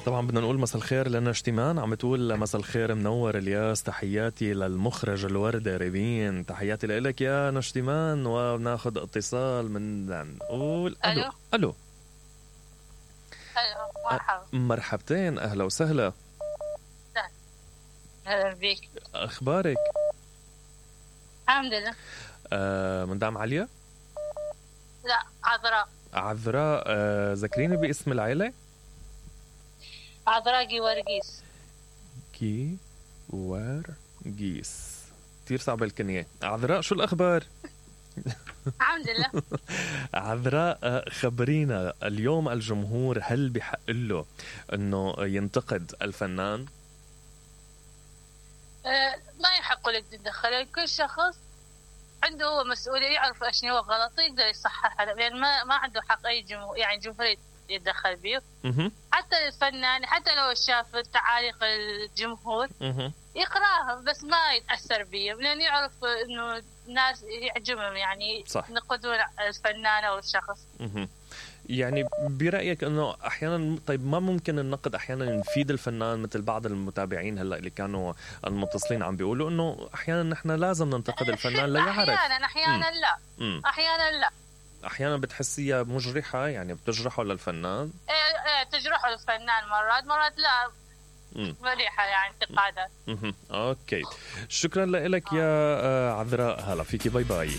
طبعا بدنا نقول مساء الخير لنا اشتمان، عم تقول مساء الخير منور الياس، تحياتي للمخرج الوردة ريبين، تحياتي لك يا نشتمان. وناخذ اتصال من نقول الو. الو مرحبا. مرحبتين، اهلا وسهلا. اهلا بك. اخبارك؟ الحمد لله. مدام عليا؟ لا، عذراء. عذراء. ذكريني باسم العيلة. عذراء جيورجيس. جيورجيس، كتير صعبة الكنية. عذراء شو الأخبار؟ الحمد لله. عذراء، خبرينا اليوم الجمهور هل بحق له أنه ينتقد الفنان؟ ما يحق لك تتدخل، كل شخص عنده هو مسؤولية، يعرف ايش هو غلط يقدر يصححها، يعني ما عنده حق اي جمهور يتدخل بيه. حتى الفنان حتى لو شاف تعاليق الجمهور يقراها بس ما يتأثر بيه، لأن يعرف انه الناس يعجبهم يعني ينقدون الفنان او الشخص. يعني برأيك انه احيانا، طيب ما ممكن النقد احيانا يفيد الفنان؟ مثل بعض المتابعين هلا اللي كانوا المتصلين عم بيقولوا انه احيانا نحن لازم ننتقد الفنان ليعرف. احيانا لا. احيانا لا. احيانا بتحسيها مجرحة، يعني بتجرحه للفنان. ايه تجرحه للفنان مرات لا. مريحة يعني انتقادات. اوكي، شكرا لك يا عذراء، هلا فيكي، باي باي.